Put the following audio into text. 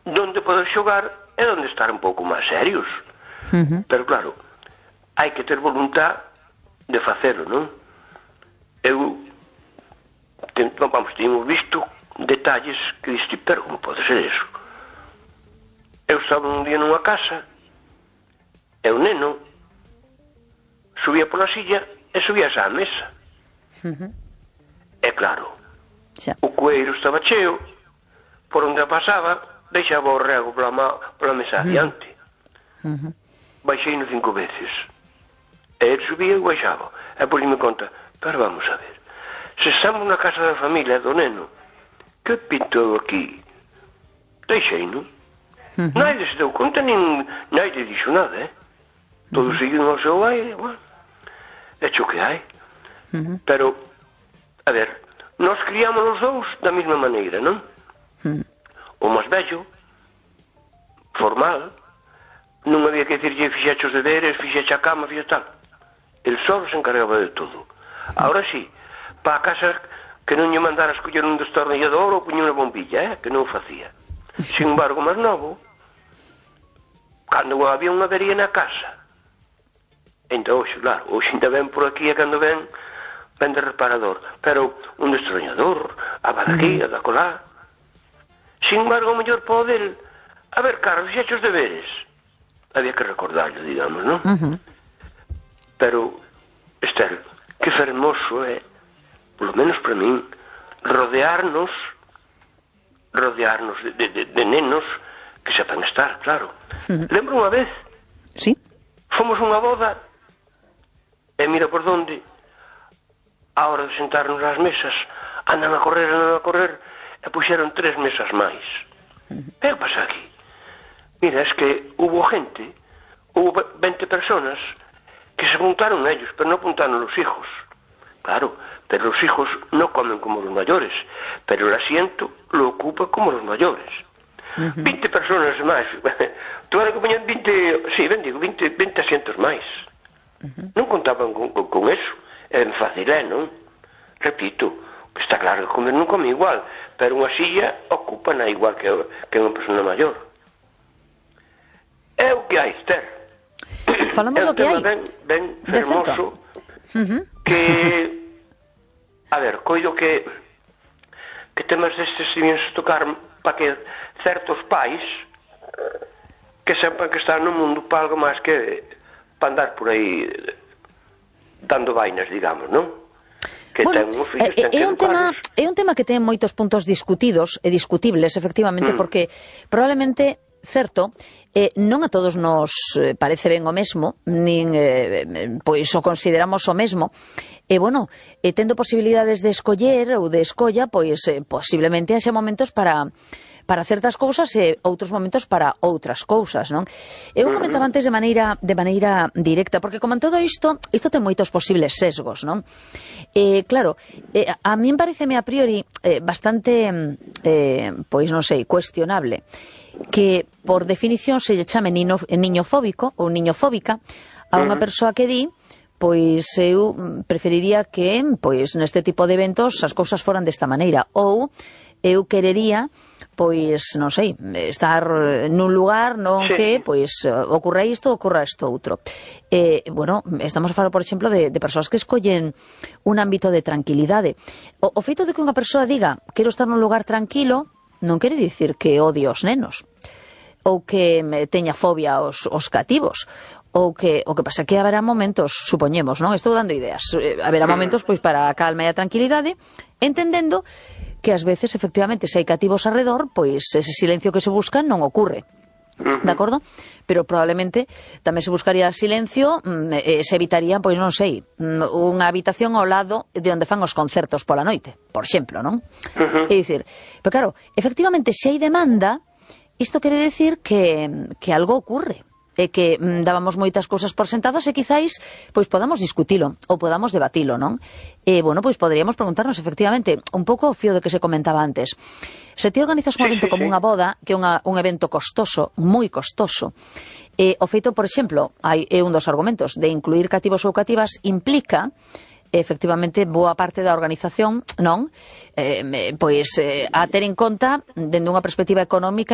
donde poder xogar e donde estar un pouco máis serios. Pero claro, hai que ter voluntad de facelo, non? Temos visto detalles que diste, pero como pode ser eso? Eu estaba un día nunha casa e o neno subía pola silla e subía á mesa. E claro, o cueiro estaba cheo, por onde pasaba deixaba o rego pola mesa adiante. Baixei no 5 veces e ele subía e baixaba, e por me conta, pero vamos a ver, se estamos na casa da familia do neno, que pinto eu aquí? Deixei, non? Naide se deu conta, nin naide dixo nada, todos seguiron ao seu aire, bueno, é xo que hai. Pero, a ver, nós criamos os dous da mesma maneira, non? O máis vello, formal, non había que dicirlle fixeche os deberes, fixeche a cama, fixeche tal. El só se encargaba de todo. Ahora sí, para a casa que non lle mandara escoller un destornillador ou puñer unha bombilla, que non o facía. Sin embargo, máis novo, cando había unha avería na casa, entón, hoxe, claro, hoxe ainda ven por aquí e cando ven de reparador, pero un destornillador, a aquí, a da colá. Sin embargo, o mellor poder, a ver, Carlos, fixeche os deberes. Había que recordarlo, digamos, non? Pero, Esther, que fermoso é, polo menos para min, rodearnos de nenos que sepan estar, claro. Lembro unha vez, fomos unha boda, e mira por donde, a hora de sentarnos ás mesas, andan a correr, e puxeron 3 mesas máis. E que pasa aquí? Mira, es que hubo 20 personas que se apuntaron ellos, pero no apuntaron los hijos. Claro, pero los hijos no comen como los mayores, pero el asiento lo ocupa como los mayores. 20 personas máis. Tú ahora que poñen 20 asientos máis. Non contaban con eso. É fácil, non? Repito, está claro que comer non come igual, pero unha silla ocupan igual que unha persona maior. É o que hai, Esther. Falamos do que hai. Ben fermoso, que, a ver, coido que temas destes vimos tocar para que certos pais que sepan que están no mundo para algo máis que para andar por aí dando vainas, digamos, non? Bueno, é un tema que ten moitos puntos discutidos e discutibles, efectivamente, porque probablemente, certo, non a todos nos parece ben o mesmo, nin pois o consideramos o mesmo, e, bueno, tendo posibilidades de escoller ou de escolla, pois posiblemente haxa momentos para certas cousas e outros momentos para outras cousas, non? Eu comentaba antes de maneira directa, porque como en todo isto ten moitos posibles sesgos, non? Claro, a min pareceme a priori bastante, pois non sei, cuestionable que por definición se lle chame niñofóbico ou niñofóbica a unha persoa que di pois eu preferiría que, pois, neste tipo de eventos as cousas foran desta maneira, ou eu querería, pois, non sei, estar nun lugar non que, pois, ocorra isto outro. Bueno, estamos a falar, por exemplo, de persoas que escollen un ámbito de tranquilidade. O feito de que unha persoa diga quero estar nun lugar tranquilo non quere dicir que odie os nenos, ou que teña fobia aos cativos. O que pasa que haberá momentos, supoñemos, non? Estou dando ideas. Haberá momentos, pois, para a calma e a tranquilidade, entendendo que ás veces, efectivamente, se hai cativos arredor, pois ese silencio que se busca non ocurre. De acordo? Pero probablemente tamén se buscaría silencio, se evitaría, pois non sei, unha habitación ao lado de onde fan os concertos pola noite, por exemplo, non? É dicir, pero claro, efectivamente, se hai demanda, isto quere decir que algo ocurre. E que dábamos moitas cousas por sentadas e quizáis pois podamos discutilo ou podamos debatilo, non? E, bueno, pois poderíamos preguntarnos efectivamente un pouco o fío de que se comentaba antes. Se ti organizas un evento como unha boda, que é un evento costoso, moi costoso, o feito, por exemplo, é un dos argumentos de incluir cativos ou cativas implica efectivamente boa parte da organización, non? Pois a ter en conta dende unha perspectiva económica